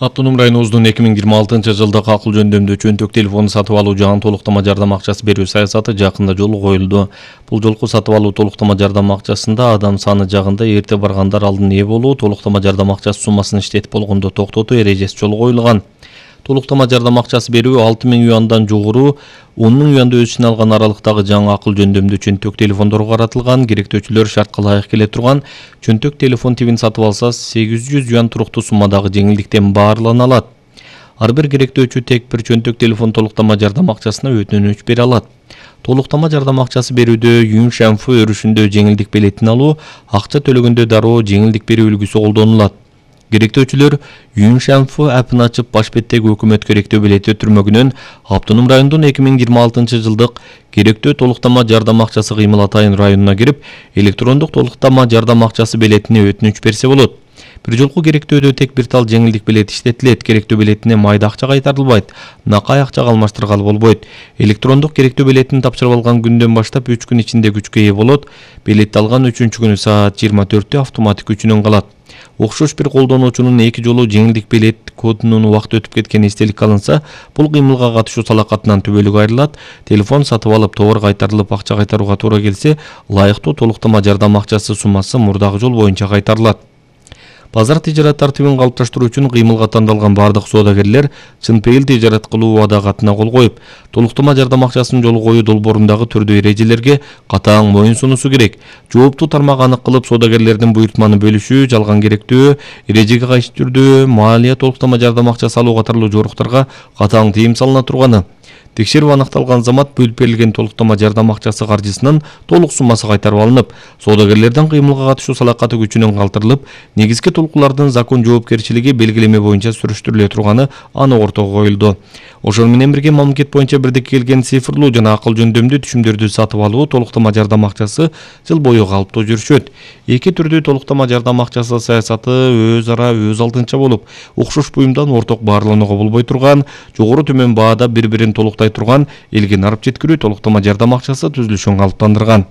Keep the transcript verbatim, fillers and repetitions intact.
Автоном районубуздун эки миң жыйырма алтынчы жылдык акыл жөндөмдүү чөнтөк телефону сатып алуу жана толуктама жардам акчасы берүү саясаты жакында жолго коюлду. Бул жолку сатып алуу толуктама жардам акчасында адам саны жагында эрте баргандар алдын ээ болуу, толуктама жардам акчасы суммасын иштетип болгондо токтотуу эрежеси жолго коюлган. Толуктама жардам акчасы берүү алты миң юандан жогору он миң юанды өз ичине алган аралыктагы жаңы акыл жөндөмдүү чөнтөк телефондорго каратылган. Керектөөчүлөр шартка ылайык келе турган чөнтөк телефон тибин сатып алса сегиз жүз юан туруктуу суммадагы жеңилдиктен баарлана алат. Ар бир керектөөчү тек бир чөнтөк телефон толуктама жардам акчасына өтүнүч бере алат. Толуктама жардам акчасы берүүдө Юншанфу өрүшүндө жеңилдик билетин алуу, акча төлөгөндө дароо жеңилдик берүү үлгүсү колдонулат. Керектөөчүлөр Юншанфу апын ачып баш беттеги өкмөт керектөө билети өтүрмөгүнөн Автоном райондун эки миң жыйырма алтынчы жылдык керектөө толуктама жардам акчасы кыймыл атайын районуна кирип, электрондук толуктама жардам акчасы билетине өтүнүч берсе болот. Бир жолку керектөөдө тек бир тал жеңилдик билет иштетилет. Керектөө билетине майда акча кайтарылбайт, накай акчага алмаштыргалы болбойт. Электрондук керектөө билетин тапшырып алган күндөн баштап үч күн ичинде күчкө ээ болот. Билетти алган үчүнчү күнү саат жыйырма төрттө автоматик күчүнөн калат. Окшош бир колдонуучунун эки жолу жеңилдик билет кодунун убакыты өтүп кеткени эстеликке алынса, бул кыймылга катышуу салакатынан түбөлүк айрылат. Телефон сатып алып, товар кайтарылып, акча кайтарууга туура келсе, ылайыктуу толуктама жардам акчасы суммасы мурдагы жол боюнча кайтарылат. Базар тижарат тартибин калыпташтыруу үчүн кыймылга тандалган бардык соодагерлер чынпейил тижарат кылуу убада катына кол коюп, толуктама жардам акчасын жолго коюу долбоорундагы түрдүү эрежелерге катаң моюн сунуусу керек. Жооптуу тармак анык кылып, соодагерлердин буйртманы бөлүшүү, жалган керектөө, эрежеге кайшы түрдүү маалия толуктама жардам акчасы алуу катарлуу жоруктарга катаң тыйым салына турганы. Текшерип аныкталган замат бөлүп берилген толуктама жардам акчасы каржысынын толук суммасы кайтарып алынып, соодагерлердин кыймылга катышуу салакаты күчүнөн калтырылып, негизги толкулардын закон жоопкерчилиги белгилеме боюнча сүрүштүрүлө турганы анық ортого коюлду. Ошол менен бирге мамлекет боюнча бирдикке келген цифрлуу жана акыл жөндөмдүү түшүмдөрдү сатып алуу толуктама жардам акчасы жыл бою калыптуу жүрүшөт. Эки түрдүү толуктама жардам акчасы саясаты өз ара өз алдынча болуп, окшош буюмдан орток баарланууга болбой турган, жогору төмөн баада бири-бирин толуктай турган элге нарып жеткирүү толуктама жардам акчасы түзүлүшүн калыптандырган.